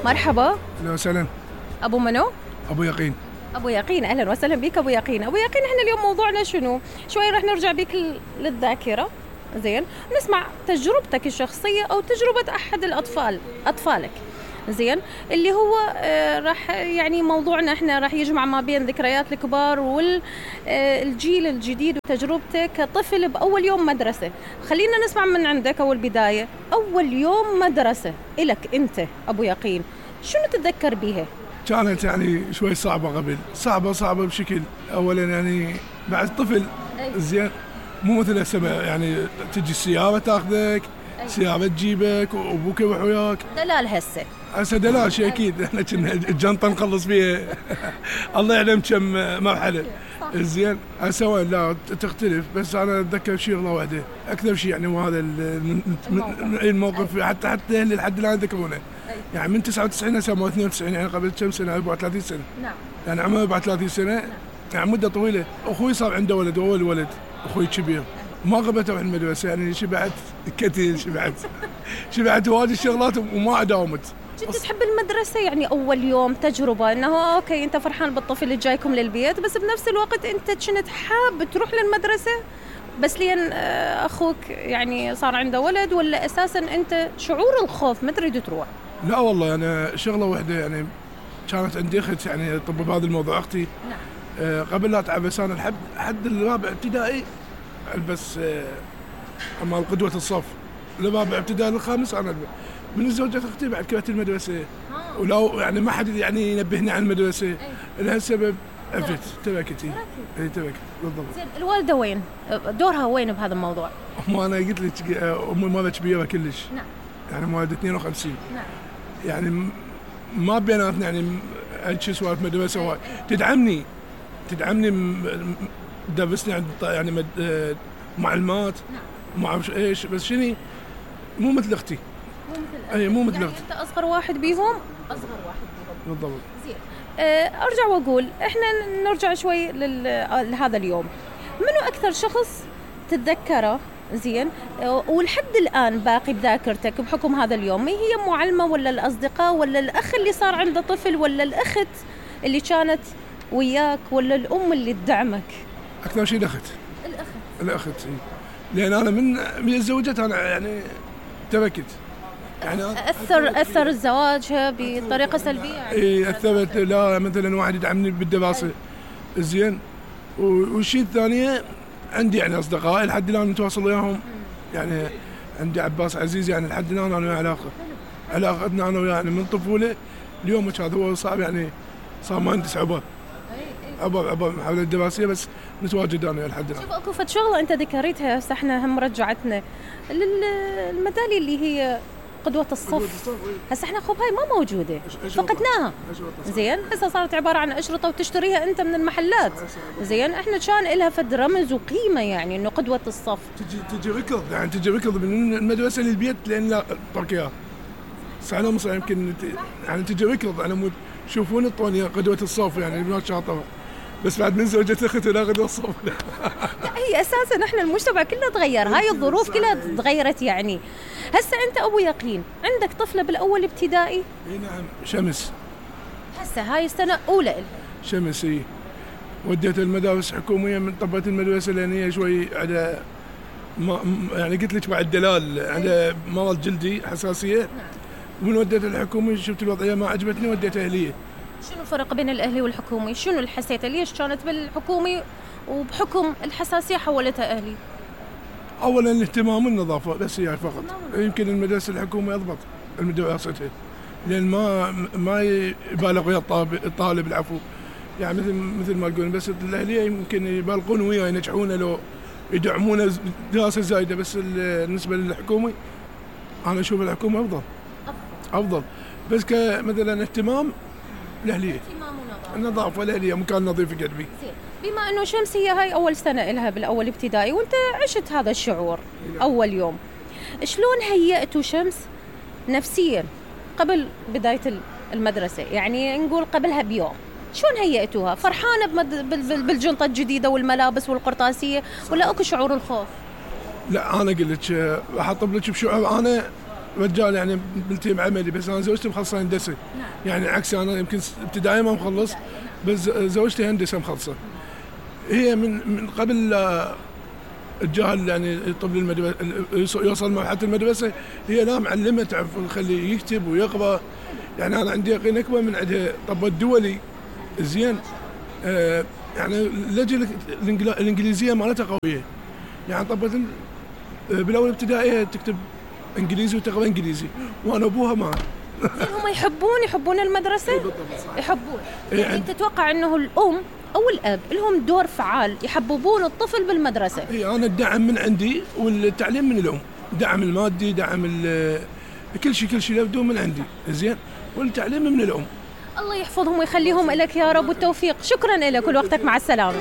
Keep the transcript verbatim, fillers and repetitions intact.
مرحبا. اهلا وسهلا. ابو منو؟ ابو يقين. ابو يقين، اهلا وسهلا بك ابو يقين. ابو يقين، احنا اليوم موضوعنا شنو؟ شوي راح نرجع بك للذاكره، زين، نسمع تجربتك الشخصيه او تجربه احد الاطفال اطفالك، زين، اللي هو آه راح يعني موضوعنا احنا راح يجمع ما بين ذكريات الكبار والجيل الجديد وتجربتك كطفل باول يوم مدرسه. خلينا نسمع من عندك اول بدايه، اول يوم مدرسه الك انت ابو يقين، شنو تتذكر بيها؟ كانت يعني شوي صعبه قبل، صعبه صعبه بشكل. اولا يعني بعد طفل، زين، مو مثل هسه يعني تجي السياره تاخذك، سياره تجيبك وابوك يروح وياك. دلال هسه هسه دلال شيء اكيد. احنا كنا الجنطه نخلص فيها الله يعلم كم مرحله. زين، هسه وين لا تختلف. بس انا اتذكر شغله واحده اكثر شيء، يعني وهذا الموقف حتى حتى اللي لحد الان يذكرونه. يعني من تسعة وتسعين هسه مو اثنين وتسعين، يعني قبل كم سنه؟ أربعة وثلاثين سنه. نعم. يعني عمره أربعة وثلاثين سنه. نعم. يعني مده طويله. اخوي صار عنده ولد، اول ولد اخوي كبير، ما قبلت اروح المدرسه، يعني شبعت كثير، شبعت شبعت واجد شغلات وما داومت. كنت تحب المدرسه؟ يعني اول يوم تجربه انه اوكي انت فرحان بالطفل اللي جايكم للبيت، بس بنفس الوقت انت كنت حاب تروح للمدرسه بس لين اخوك يعني صار عنده ولد، ولا اساسا انت شعور الخوف ما تريد تروح؟ لا والله انا شغله واحده، يعني كانت عندي اخت يعني طب بهذا الموضوع اختي. نعم. آه قبل لا اتعب، بس انا لحد حد الرابع ابتدائي البس آه اما قدوه الصف، الرابع ابتدائي الخامس انا البس. من زوجة اختي بعد كرهت المدرسه، ولو يعني ما حد يعني ينبهني عن المدرسه لهالسبب عفت تركت. اي تركت بالضبط. زين، الوالده وين؟ دورها وين بهذا الموضوع؟ امي انا قلت لك امي مالها كبيره كلش. نعم. يعني مواليد اثنين وخمسين. نعم. يعني ما بيناتنا يعني شو سوالف مدرسه وايد. تدعمني تدعمني تدرسني عند يعني مد... معلومات. نعم. ما اعرف ايش، بس شنو مو مثل اختي. مو مثل اي مو مثل يعني اختي. انت اصغر واحد بيهم؟ اصغر واحد بيهم بالضبط. زين. أه ارجع واقول احنا نرجع شوي لهذا اليوم. منو اكثر شخص تتذكره زين ولحد الان باقي بذاكرتك بحكم هذا اليوم؟ هي معلمه ولا الاصدقاء ولا الاخ اللي صار عنده طفل ولا الاخت اللي كانت وياك ولا الام اللي تدعمك؟ اكثر شيء الاخت. الاخت الاخت اي، لان انا من من تزوجت انا يعني تركت. يعني اثر اثر زواجها بطريقه سلبيه يعني؟ اي اثرت. لا مثلا واحد يدعمني بالدراسه، زين، والشيء الثانيه عندي يعني اصدقائي لحد الان متواصل وياهم. يعني عندي عباس عزيز، يعني لحد الان انا وياه علاقه علاقتنا انا وياه يعني من طفوله اليوم هذا. هو صعب يعني صار مهندس عبر عبر عبر محاولة دراسيه، بس نتواجد انا وياه لحد الان. شوف اكو فد شغله انت ذكرتها هسه احنا هم رجعتنا للميداليه اللي هي قدوة الصف. هسه احنا خب هاي ما موجودة، فقدناها. زين، هسه صارت عبارة عن أشرطة وتشتريها أنت من المحلات. زين، احنا كان لها فد رمز وقيمة، يعني إنه قدوة الصف. تجي تجي ركض، يعني تجي ركض من المدرسة للبيت لأن لا تركيها. سنة مصر يمكن يعني تجي ركض على مود شوفون الطونية قدوة الصف، يعني البنات شاطرة. بس بعد من زوجة اختي لا قدوة الصف. هي أساسا احنا المجتمع كله تغير، هاي الظروف كلها تغيرت. يعني هسه أنت أبو يقين عندك طفلة بالأول ابتدائي؟ اي نعم، شمس. هسه هاي السنة أولى إلها. شمس اي، وديت المدارس حكومية، من طبت المدرسة لأن هي شوي على ما يعني قلت لك بعد دلال على مرض جلدي حساسية. نعم. ومن وديت الحكومي شفت الوضعية ما عجبتني وديت أهلية. شنو الفرق بين الأهلي والحكومي؟ شنو اللي حسيته؟ ليش كانت بالحكومي وبحكم الحساسية حولتها أهلي؟ اولا الاهتمام والنظافه بس هي فقط. يمكن المدرسه الحكوميه اضبط المدرستها، لان ما ما يبالغ ويا الطالب العفو، يعني مثل مثل ما تقول. بس الاهليه يمكن يبالغون وياه ينجحونه لو يدعمونه دراسه زايده. بس بالنسبه للحكومي انا اشوف الحكومه افضل افضل. بس كمثلا اهتمام الاهليه، النظافه الاهليه مكان نظيف قلبي. بما انه شمس هي هاي اول سنه لها بالاول ابتدائي وانت عشت هذا الشعور اول يوم، شلون هيئتوا شمس نفسيا قبل بدايه المدرسه؟ يعني نقول قبلها بيوم، شلون هيئتوها؟ فرحانه بمد... بالجنطه الجديده والملابس والقرطاسيه، ولا اكو شعور الخوف؟ لا انا اقول لك راح اطب لك بشعور انا رجال يعني بالتيم عملي، بس انا زوجتي مخلصه هندسه. يعني عكس انا يمكن ابتدائي ما مخلص، بس زوجتي هندسه مخلصه. هي من من قبل الجاهل يعني الطفل المدرسه يوصل مرحله المدرسه، هي لا معلمه تعرف تخليه يكتب ويقرا. يعني انا عندي يقين اكبر من عندها. طب الدولي زين، آه يعني اللهجه الانجليزيه مالتها قويه. يعني طب بالاول ابتدائيه تكتب انجليزي وتقرا انجليزي، وانا ابوها ما هم يحبون يحبون المدرسه، يحبون. يعني تتوقع انه الام او الاب لهم دور فعال يحببون الطفل بالمدرسه؟ اي انا الدعم من عندي والتعليم من الام، دعم المادي، دعم كل شيء كل شيء يبدو من عندي زين، والتعليم من الام. الله يحفظهم ويخليهم لك يا رب، والتوفيق. شكرا لك ولوقتك، مع السلامه.